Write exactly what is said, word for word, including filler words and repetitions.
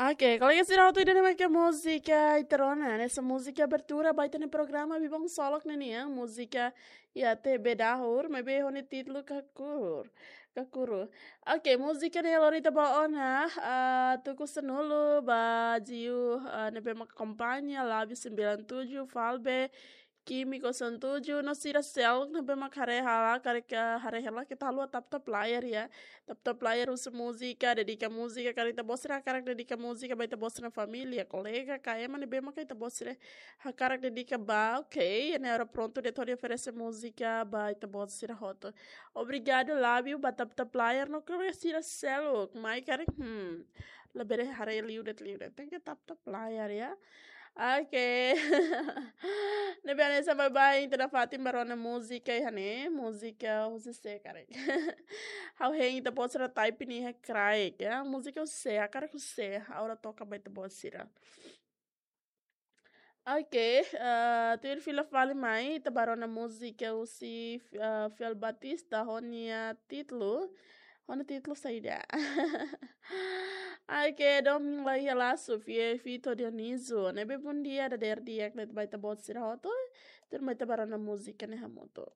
Oke, kolega sira hotu, ida-ne'e mak múzika ita rona, hanesan múzika abertura ba ita-nia programa Bibon Solok ne'e nian, múzika iha T V dahur, maibé ho nia títulu Kakuru. Kakuru. Oke, múzika ne'e lori ita ba ona, ah, tuku sanulu ba Jiu, ah, ne'ebé mak akompaña, Lábio sembilan tujuh, Falbe, Químico Santuju, no sira seluk ne'ebé mak haree hela, karik haree hela, keta haluha tap tap layar ya. Tap tap layar husu múzika, dedika múzika, karik ita-boot sira hakarak dedika múzika ba ita-boot sira-nia família, kolega, ka ema ne'ebé mak ita-boot sira hakarak dedika ba, oke, ne'e agora prontu de'it hodi oferese múzika ba ita-boot sira hotu. Obrigadu, Lábio, ba tap tap layar, no kolega sira seluk, mai karik, hmm, labele haree liu de'it, liu de'it, tenke tap tap layar ya. Oke. Ne'ebé hanesan baibain ita nafatin ba rona múzika iha ne'e, múzika husi sé karik. Ha'u hein ita-boot sira type nia iha kraik, ya. Múzika husi sé, hakarak husi sé, ha'u atu toka ba ita-boot sira. Oke, eh, tuir fila fali mai, ita ba rona múzika husi, eh, Fiel Batista, ho nia títulu, ho nia títulu saida. Oke, Domin Lai Helasu, Fie Fito Dionísio. Ne'ebé bom dia, dadeer di'ak ba ita-boot sira hotu. Tuirmai ita ba rona múzika ne'e hamutuk.